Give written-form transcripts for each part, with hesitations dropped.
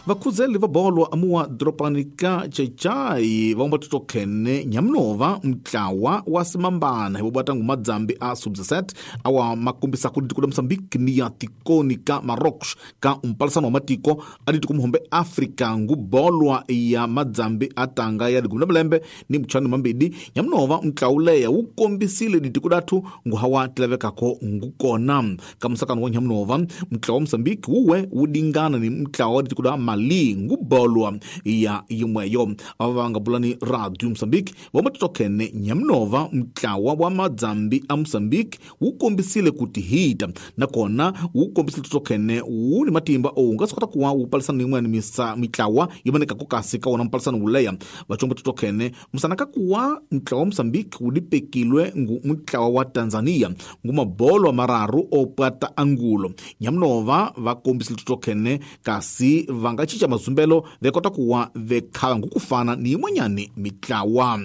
Vakhuzeli va bolo amuwa doropani ka Chechai va totokhene nyamunova mutlawa wa simambana hi vobata ngu madzambi a sub-17 awa makombisa ku ditiko la Mozambique ni ya tikoni ka Marocos ka umpalisano wa matiko a ditiko muhombe Afrika ngu bolwa ya madzambi a tanga ya ligumi la malembe ni mutshanu mambidi. Nyamunova mutlawu leya wu kombisile ditiko dathu ngu hawa tilavekako ngu kona ka musakano wa nyamunova mutlawa wa Mozambique wuwe wu dingana ni mutlawa wa ditiko da Mali ngu bolwa ya yimweyo. Ava nga bulani Radio Mozambique vamatitokhene nyamunova mutlawa wa madzambi a Mozambique wu kombisile kuti hita nakona wu kombisile titokhene wu ni matimba o nga swi kota kuwa wu palisana ni yin'wana mitlawa yi vonekaka kasi ka wona mpalisano wu leya. Vachombo titokhene musana ka kuwa mutlawa wa Mozambique wu dipekilwe ngu mutlawa wa Tanzania ngu mabolo mararu o pata angulo. Nyamunova va kombisile titokhene kasi va nga cinca mazumbelo ve kota kuwa ve khava ngukufana ni yin'wanyani mitlawa.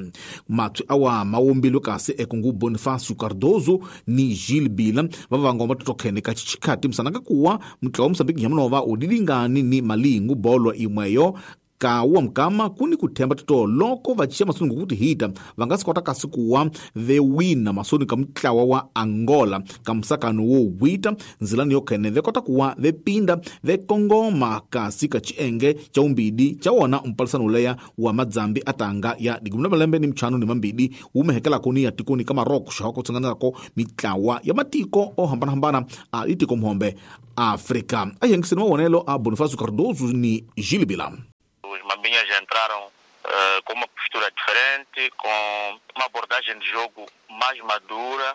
Matswi awa mawombilwe kasi ekungu Bonifacio Cardoso ni Gilles Bila va vangoma titokhene ka chichikhati musana ka kuwa mutlawa wa Mozambique nyamunova wu dilingani ni Mali ngu bolo imweyo ka wa mkama kuni kuthemba tito loko va cinca masoni ngokuti hita va nga swi kota kasi kuwa ve wina masoni ka mutlawa wa Angola ka musakano wo wita nzilani yo khene ve kota kuwa ve pinda ve kongoma kasi ka chienge cha umbidi cha wona mpalisano uleya wa madzambi atanga ya digumi la malembe ni mchano ni mambidi wumehekelako ni ya tikoni ka Marocco xa ku tsanganelako mitlawa ya matiko o hambanahambana a itiko muhombe Afrika. A yengiseni mavonelo a Bonifacio Cardoso ni Gilles Bila. Os mambinhas entraram com uma postura diferente, com uma abordagem de jogo mais madura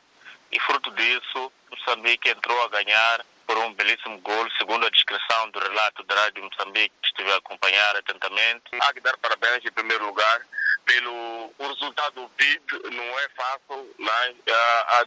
e, fruto disso, Moçambique entrou a ganhar por um belíssimo gol, segundo a descrição do relato da Rádio Moçambique, que estive a acompanhar atentamente. Há que dar parabéns, em primeiro lugar, pelo o resultado obtido. Não é fácil, mas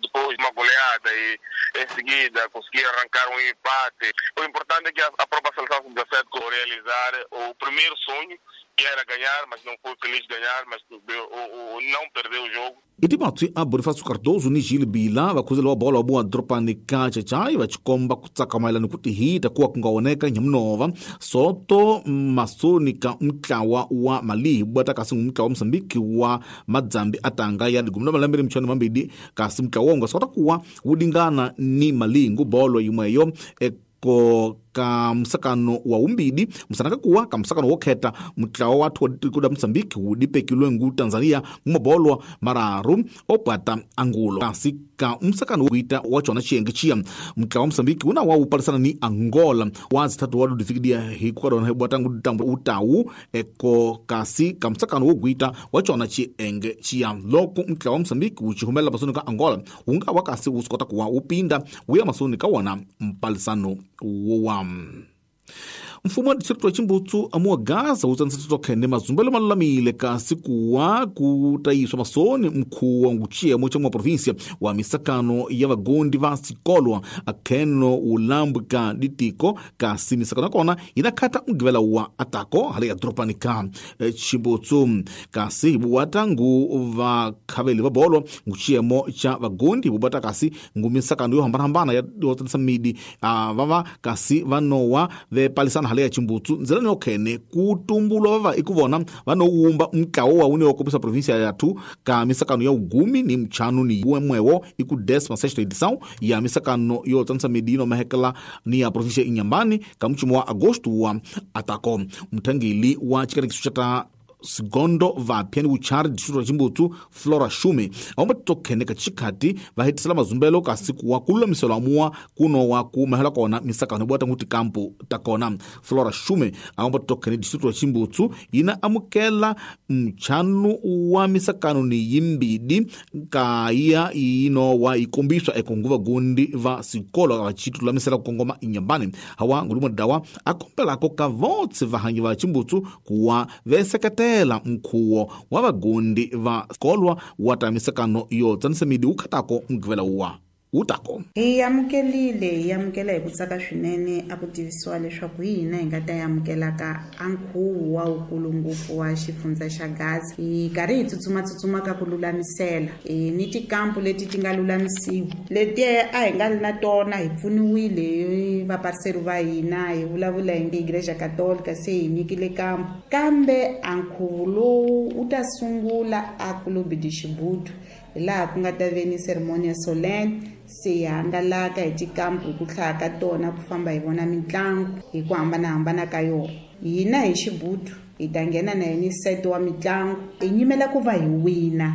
depois de uma goleada e em seguida conseguir arrancar um empate. O importante é que a própria seleção sub-17 realizar o primeiro sonho, que era ganhar, mas não foi feliz ganhar, mas não perdeu o jogo. Iti matswi a Bonifacio Cardoso ni Gilles Bila vakhuzeli wa bolo wa doropani ka Chechai va chikomba ku tsaka mayelana ku tihita kuwa ku nga oneka nyamunova soto masoni ka mutlawa wa Mali bwata kasi mutlawa wa Mozambique wa madzambi atanga ya ligumi la malembe ni mchano mambidi kasi mutlawa wo nga swi kota kuwa wu dingana ni Mali ngu bolo yimweyo eko ka musakano wa umbidi musana kuwa ka musakano wo kheta mutlawa wa thu wa Mozambique wu dipekilwe ngu Tanzania ngumabolwa mararu opata angulo kasi ka musakano wo kuita wa chona chienge chia mutlawa wa Mozambique una wa upalisana ni Angola wa zitatu wa dudifikidia hikwadona bwatangu tambo utawu eko kasi ka musakano wo kuita wa chona chienge chia loko mutlawa wa Mozambique wuchihumela masoni ka Angola unga wa kasi wusikota kuwa upinda wuya masoni ka wona mpalisano wowa. Mfumo wa district wa Chimbutsu amuwa Gaza wutsanisa titokhene mazumbelo malulamile kasi kuwa kutayiswa masoni mkhuwa nguchiyemo cha mwa província wa misakano ya vagondi va sikolwa akheno ulambwi ka ditiko kasi misakano yakona inakhata mugivela wa atako hale ya doropani ka Chimbutsu kasi hibuwata ngu vakhaveli va bolo nguchiyemo cha vagondi hibubata kasi ngu misakano yo hambanahambana ya yotsanisa midi vava kasi vanowa vepalisana hale ya Chimbutsu nzilani yokhene kutumbulwa vava ikuvona vanowumba mutlawo wa wune wa província yathu ka misakano ya ugumi ni mchanu ni wemwewo iku 16ª edição ya misakano yo tsanisa midi ino mahekela ni ya província Inhambane ka mchumo wa agosto wa atako. Mthangeli wa chikarekiso cha ta sigondo vapya ni vuchari district wa Chimbutsu Flora Shume aomba titokhene ka chikhati va hetisela mazumbelo kasi kuwa kululamiselo amuwa kuno wa kumahela kona misakano ibwata nguti kampu takona. Flora Shume aomba titokhene district wa Chimbutsu yina amukela mchanu wa misakano ni yimbidi kaya ino wa ikombiswa ekonguva gundi va sikolo vachitulamisela kukongoma Inhambane hawa ngulumwa dawa akombelako ka votse vahanyi va Chimbutsu kuwa veseketela mkhuwo wa vagundi va kolwa wa ta misakano yo tsanisa midi wukhatako mugivela wa Wutako hi amukelile hi amukela hi ku tsaka swinene a ku tivisiwa leswaku hi hina hi nga ta amukelaka a nkhuvo wa wukulu ngopfu wa xifundza xa Gaza. Hi karhi hi tsutsumatsutsuma ka ku lulamisela ni tikampu leti ti nga lulamisiwa leti a hi nga ri na tona, hi pfuniwile hi vapariseri va hina, hi vulavula hi nge Igreja Católica se hi nyikile kampu, kambe a nkhuvo lowu wu ta sungula a Clube de Chibuto hi laha ku nga ta ve ni ceremonia solemne, se hi hangalaka hi tikampu hi ku hlaya ka tona ku famba hi vona mitlangu hi ku hambanahambana ka yona. Hina hi Xibutu hi ta nghena na yini set wa mitlangu, hi nyimela ku va hi wina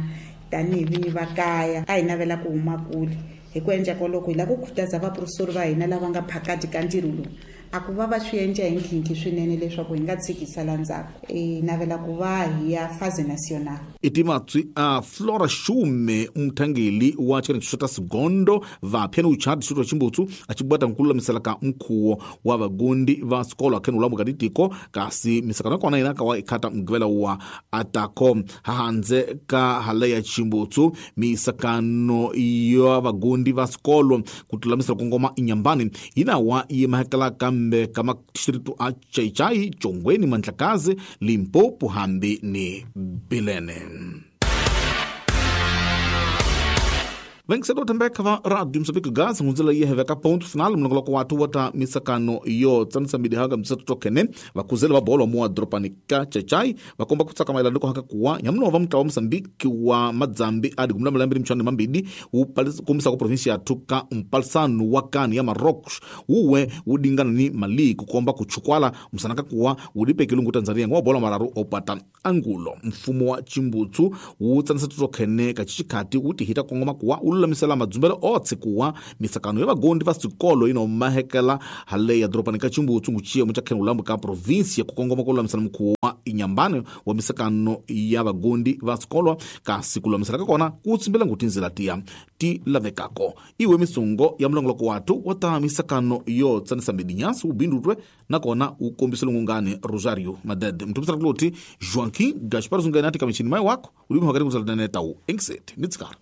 tanihi vinyi va kaya, a hi navela ku huma kule. Hi ku endla koloko hi lava ku khutaza vaprofesori va hina lava nga phakati ka ntirho lowu a ku va va swi endla hi nkhinkhi swinene leswaku hi nga tshiki sala ndzhaku. Hi navela ku va hi ya phase national. I timatswi a Flora Shume muthangeli wa tshikanetsho ta Sigondo vapya ni uchadi xitwa Chimbutsu a tshi bwata nkululamisela ka mkhuwo wa vagundi va swikolo akheni ulambu ka titiko, kasi misakano ya kona yina kawa ikhata mugivela wa atako hahandze ka hala ya Chimbutsu. Misakano ya vagundi va swikolo ku tulamisela kongoma inyambani yinawa yi mahekela kambe ka madistritu a Chaichai, Chongweni, Mandlakazi, Limpopo hambi ni Bilene. Vencedor também va Radio Moçambique Gaza ngunzela ye heveka ponto final mulongoloko watu wata misakano yo tsanisa midihaga msatu tokene vakuzela va bolo mua dropani ka Chachai vakomba kutsaka maelano ko haka kuwa nyamuno va mutla wa Mozambique wa Madzambi adi kumla malambiri mchana mambidi kumisa ko provinsia ya Tuka mpalsanu wa kani ya Marocos uwe udingana ni Mali kukomba kuchukwala msanaka kuwa udipeke lungu Tanzania ngwa bolo mararu opata angulo. Mfumo wa Chimbutsu utsanisa tokene kachichikati utihita kongoma kuwa ululamisela madzumbelo otse kuwa misakano ya vagondi va swikolo ino mahekela hale ya dropani ka Chimbutsu nguchiye muchakheni ulambu ka provinsia kukongoma kululamisela mukhuwo wa inyambane wa misakano ya vagondi va swikolo, kasi kululamisela ka kona kutsimbela ngutinzela tiya ti lavekako. Iwe misungo ya mulongoloko watu wa misakano yo tsanisa midinyasi ubindutwe nakona ukombisele ngungane Rosario Madede mtumisela kuloti Joaquim Gaspar Zungani ati kamichini mai wako ulimi wakati kuzalaneta u engisete nitsikara.